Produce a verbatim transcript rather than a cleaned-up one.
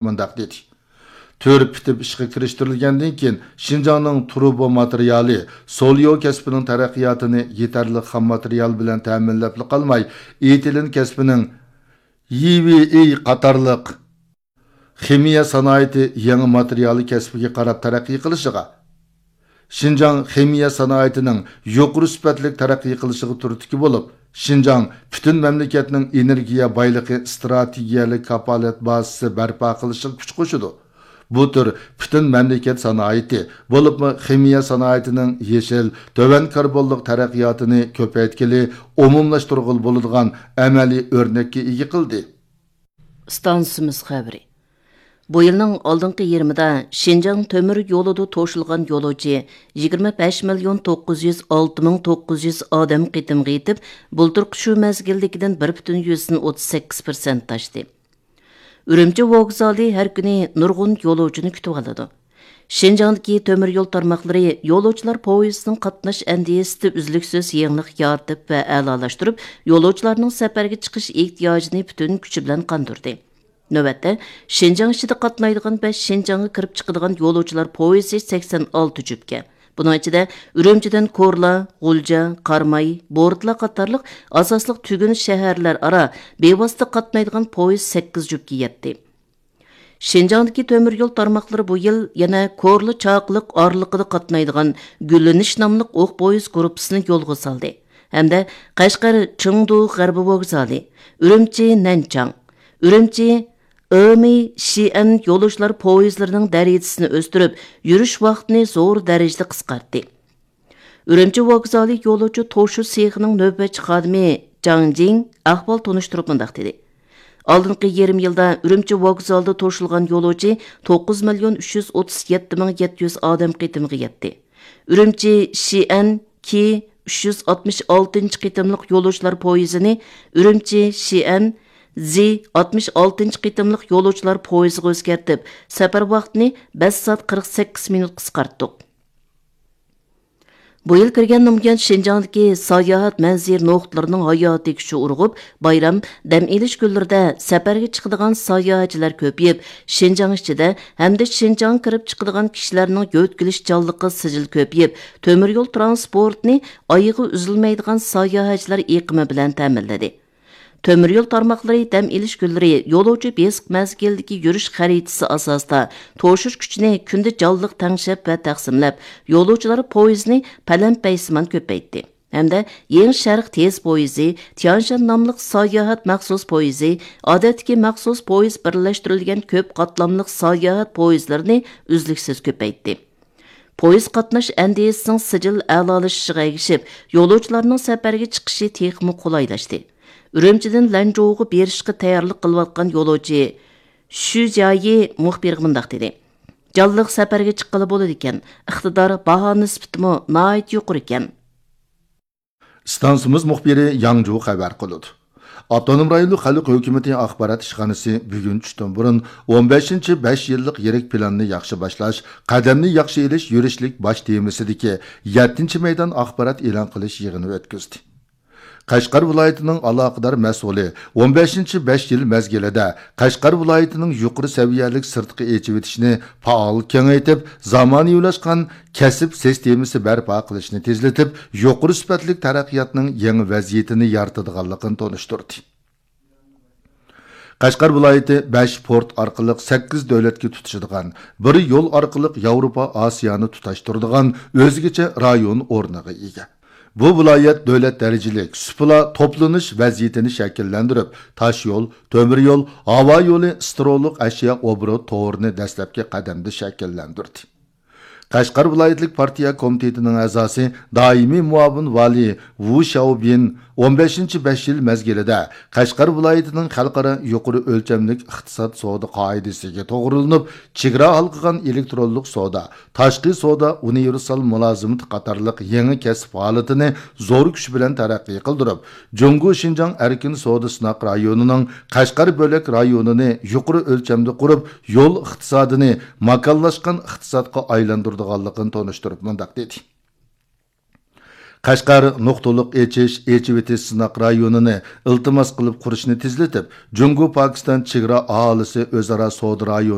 مۇنداق دېدى: تۈر پۈتۈپ ئىشقا كىرىشتۈرۈلگەندىن كېيىن، شىنجاڭنىڭ تۇرۇبا ماتېرىيالى، سوليو كەسپىنىڭ تەرەققىياتىنى يېتەرلىك خام ماتېرىيال بىلەن تەمىنلەپلا قالماي، ئېتىلېن كەسپىنىڭ يىۋېي قاتارلىق خىمىيە سانائىتى يېڭى ماتېرىيالى كەسپىگە قاراپ تەرەققىي قىلىشىغا، شىنجاڭ خىمىيە سانائىتىنىڭ يۇقىرى سۈپەتلىك تەرەققىي قىلىشىغا تۈرتكە بولۇپ، شىنجاڭ پۈتۈن مەملىكەتنىڭ ئېنېرگىيە بايلىقى ئىستراتېگىيەلىك كاپالەت بازىسى بەرپا قىلىشىغا كۈچ قوشىدۇ. بۇ تۈر پۈتۈن مەملىكەت سانائىتى، بولۇپمۇ خىمىيە سانائىتىنىڭ يېشىل، تۆۋەن كاربونلۇق تەرەققىياتىنى كۆپەيتكىلى، ئومۇملاشتۇرغىلى بولىدىغان ئەمەلىي ئۆرنەككە ئىگە قىلدى. ئىستانسىمىز خەۋىرى. بۇ يىلنىڭ ئالدىنقى يېرىمىدا شىنجاڭ تۆمۈر يولىدا توشۇلغان يولۇچى يىگىرمە بەش مىليون توققۇز يۈز ئالتە مىڭ توققۇز يۈز ئادەم قېتىمغا يېتىپ، بۇلتۇرقى شۇ مەزگىلدىكىدىن بىر پۈتۈن يۈزدىن ئوتتۇز سەككىز پىرسەنت ئاشتى. ئۈرۈمچى ۋوگزالى ھەر كۈنى نۇرغۇن يولۇچىنى كۈتۈۋالىدۇ. شىنجاڭدىكى تۆمۈر يول تارماقلىرى يولۇچىلار پويىزىنىڭ قاتناش ئەندىزىسىدە ئۈزلۈكسىز يېڭىلىق يارىتىپ ۋە ئەلالاشتۇرۇپ، يولۇچىلارنىڭ سەپەرگە چىقىش ئېھتىياجىنى پۈتۈن كۈچى بىلەن قاندۇردى. نۆۋەتتە، شىنجاڭ ئىچىدە قاتنايدىغان ۋە شىنجاڭغا كىرىپ چىقىدىغان يولۇچىلار پويىزى سەكسەن ئالتە جۈپكە. بۇنىڭ ئىچىدە ئۈرۈمچىدىن كورلا، غۇلجا، قاراماي، بورتلا قاتارلىق ئاساسلىق تۈگۈن شەھەرلەر ئارا بىۋاسىتە قاتنايدىغان پويىز سەككىز جۈپكە يەتتى. شىنجاڭدىكى تۆمۈر يول تارماقلىرى بۇ يىل يەنە كورلا چاقىلىق ئارىلىقىدا قاتنايدىغان گۈللىنىش ناملىق ئوق پويىز گۇرۇپپىسىنى يولغا سالدى ھەمدە قەشقەر، چېڭدۇ غەربىي ۋوگزالى، ئۈرۈمچى، نەنچاڭ، ئۈرۈمچى، ئېمى، شىئەن يولۇچىلار پويىزلىرىنىڭ دەرىجىسىنى ئۆستۈرۈپ، يۈرۈش ۋاقتىنى زور دەرىجىدە قىسقارتتى. ئۈرۈمچى ۋوگزالى يولۇچى توشۇ سېخىنىڭ نۆۋەتچى خادىمى جاڭ جىڭ ئەھۋال تونۇشتۇرۇپ مۇنداق دېدى: ئالدىنقى يېرىم يىلدا ئۈرۈمچى ۋوگزالىدا توشۇلغان يولۇچى توققۇز مىليون ئۈچ يۈز ئوتتۇز يەتتە مىڭ يەتتە يۈز ئادەم قېتىمغا يەتتى. ئۈرۈمچى شىئەن كى ئۈچ يۈز ئاتمىش ئالتىنچى قېتىملىق يولۇچىلار پويىزىنى ئۈرۈمچى شىئەن زى ئاتمىش ئالتىنچى قېتىملىق يولۇچىلار پويىزىغا ئۆزگەرتىپ، سەپەر ۋاقتىنى بەش سائەت قىرىق سەككىز مىنۇت قىسقارتتۇق. بۇ يىل كىرگەندىن بۇيان، شىنجاڭدىكى ساياھەت مەنزىرە نۇقتىلىرىنىڭ ھاياتىي كۈچى ئۇرغۇپ، بايرام، دەم ئېلىش كۈنلىرىدە سەپەرگە چىقىدىغان ساياھەتچىلەر كۆپىيىپ، شىنجاڭ ئىچىدە ھەمدە شىنجاڭغا كىرىپ چىقىدىغان كىشىلەرنىڭ يۆتكىلىش جانلىقى سىجىل كۆپىيىپ، تۆمۈر يول ترانسپورتىنى ئايىغى ئۈزۈلمەيدىغان ساياھەتچىلەر ئېقىمى بىلەن تەمىنلىدى. تۆمۈر يول تارماقلىرى دەم ئېلىش كۈنلىرى يولۇچى بېسىق مەزگىلدىكى يۈرۈش خەرىتىسى ئاساسىدا توشۇش كۈچىنى كۈندە جانلىق تەڭشەپ ۋە تەقسىملەپ، يولۇچىلار پويىزىنى پەلەمپەيسىمان كۆپەيتتى ھەمدە يېڭى شەرق تېز پويىزى، تيانشان ناملىق ساياھەت مەخسۇس پويىزى، ئادەتتىكى مەخسۇس پويىز بىرلەشتۈرۈلگەن كۆپ قاتلاملىق ساياھەت پويىزلىرىنى ئۈزلۈكسىز كۆپەيتتى. پويىز قاتناش ئەندىزىسىنىڭ سىجىل ئەلالىشىشىغا ئەگىشىپ، يولۇچىلارنىڭ سەپەرگە چىقىشى تېخىمۇ قولايلاشتى. ئۈرۈمچىدىن لەنچۇغا بېرىشقا تەييارلىق قىلىۋاتقان يولۇچى شۈ جيايى مۇخبىرغا مۇنداق دېدى: جانلىق سەپەرگە چىققىلى بولىدىكەن، ئىقتىدار، باھا نىسبىتىمۇ ناھايىتى يۇقىرىكەن. ئىستانسىمىز مۇخبىرى ياڭجۇ خەۋەر قىلىدۇ. ئاپتونوم رايونلۇق خەلق ھۆكۈمىتى ئاخبارات ئىشخانىسى بۈگۈن چۈشتىن بۇرۇن ئون بەشىنچى بەش يىللىق يىرىك پىلاننى ياخشى باشلاش، قەدەمنى ياخشى ئېلىش يۈرۈشلۈك باش تېمىسىدىكى يەتتىنچى مەيدان ئاخبارات ئېلان قىلىش يىغىنى ئۆتكۈزدى. قەشقەر ۋىلايىتىنىڭ ئالاقىدار مەسئۇلى ئون بەشىنچى بەش يىل مەزگىلىدە قەشقەر ۋىلايىتىنىڭ يۇقىرى سەۋىيەلىك سىرتقا ئېچىۋېتىشنى پائال كېڭەيتىپ، زامانىۋىلاشقان كەسىپ سىستېمىسى بەرپا قىلىشنى تېزلىتىپ، يۇقىرى سۈپەتلىك تەرەققىياتنىڭ يېڭى ۋەزىيىتىنى يارىتىدىغانلىقىنى تونۇشتۇردى. قەشقەر ۋىلايىتى بەش پورت ئارقىلىق سەككىز دۆلەتكە تۇتىشىدىغان، بىر يول ئارقىلىق ياۋروپا، ئاسىيانى تۇتاشتۇرىدىغان ئۆزگىچە رايون ئورنىغا ئىگە. بۇ ۋىلايەت دۆلەت دەرىجىلىك سۇپىلا توپلىنىش ۋەزىيىتىنى شەكىللەندۈرۈپ، تاشيول، تۆمۈر يول، ھاۋا يولى، سترولۇق ئەشيا ئوبوروت تورىنى دەسلەپكى قەدەمدە شەكىللەندۈردى. قەشقەر ۋىلايەتلىك پارتىيە كومىتېتىنىڭ ئەزاسى، دائىمىي مۇئاۋىن ۋالىي ۋۇ شياۋبىن ئون بەشىنچى بەش يىل مەزگىلىدە قەشقەر ۋىلايىتىنىڭ خەلقئارا يۇقىرى ئۆلچەملىك ئىقتىساد سودا قائىدىسىگە توغرىلىنىپ، چېگرا ھالقىغان ئېلېكترونلۇق سودا، تاشقى سودا ئۇنىۋېرسال مۇلازىمىتى قاتارلىق يېڭى كەسىپ ھالىتىنى زور كۈچ بىلەن تەرەققىي قىلدۇرۇپ، جۇڭگو شىنجاڭ ئەركىن سودا سىناق رايونىنىڭ قەشقەر بۆلەك رايونىنى يۇقىرى ئۆلچەمدە قۇرۇپ، يول ئىقتىسادىنى ماكانلاشقان ئىقتىسادقا ئايلاندۇرىدىغانلىقىنى تونۇشتۇرۇپ مۇنداق دېدى. قەشقەر نۇقتىلىق ئېچىش، ئېچىۋېتىش سىناق رايونىنى ئىلتىماس قىلىپ قۇرۇشنى تېزلىتىپ، جۇڭگو پاكىستان چېگرا ئاھالىسى ئۆزئارا سودا رايونى